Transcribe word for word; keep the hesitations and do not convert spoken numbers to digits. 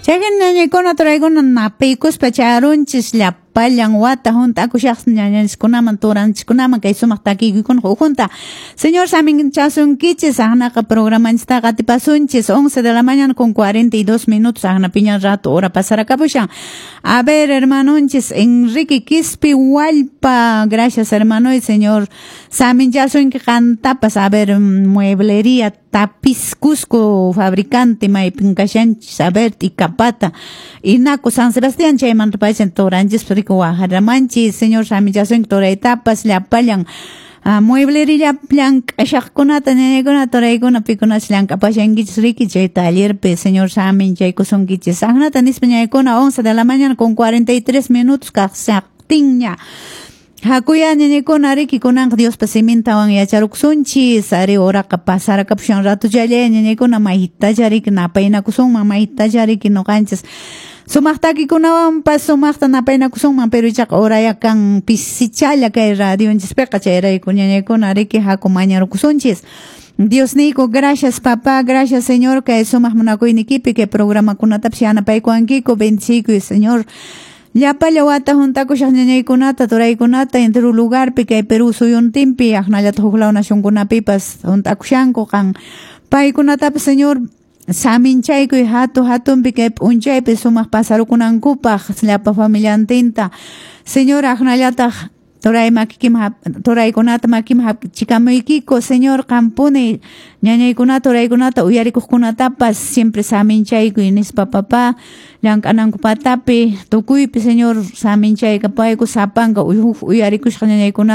Chayhin ñañaykuna turaykuna napaykuspa charunchis llapallan wata hunt'akushaq ñañanchiskunaman turanchiskunaman kay sumaq takiykuykuna ukhunta. Señor saminchasunkichis aqnaqa programanchistaqa atipasunchis once de la mañana con cuarenta y dos minutos aqnapiña rato hora pasaracapushan. A ver, hermanonchis Enrique Quispe Hualpa, gracias hermano y señor saminchasunki qantapas. A ver, mueblería Tapiz Cusco, fabricante maypin kashanchis, a ver, Ticapata, Inaco, San Sebastián, chaymanta pachan turanchis, rico wajaramanchis, señor saminchasunki turaytapas, llapallan Ah, mueblería llank'ashaqkunata ñañaykuna turaykuna pikunacha llank'apashankichis riki chay tallerpi señor saminchaykusunkichis aqnata nispa ñañaykuna once de la mañana con cuarenta y tres minutos kaqsaqtinña. Hakuya ñañaykuna riki kunanqa Diospa simintawan yacharukusunchis ari horaqa pasarakapusan ratuchallay ñañaykuna maytacha riki napaynakusunman maytacha riki ñuqanchis sumaq takikunawanpas sumaqta napaynakusunman pero ichaqa horaya kan pisichala kay radionchispiqa chayrayku ñañaykuna riki haku mañarukusunchis. Dios niyku, gracias papá, gracias Señor, kay sumaq munakuynikipi kay programakunatapas yanapaykuwankiku, bendiciykuy Señor. Llapalla wata juntakushaq ñañaykunata, turaykunata, entero lugarpi kay Perú suyuntinpi, aqnallataq huk law nacionkunapipas juntakushanku qan. Paykunatapas Señor, saminchaykuy hatu hatunpi kay p'unchaypi sumaq pasarukunankupaq llapa familiantinta. Señor, aqnallataq turay makikim turaykunata makim hapchikamuykiku, Señor, qampuni ñañaykunata, turaykunata, uyarikuqkunatapas siempre saminchaykuy nispa papá, llank'ananku patapi, tukuypi, Señor, saminchaykapayku sapanka uyarikushqa ñañaykunata.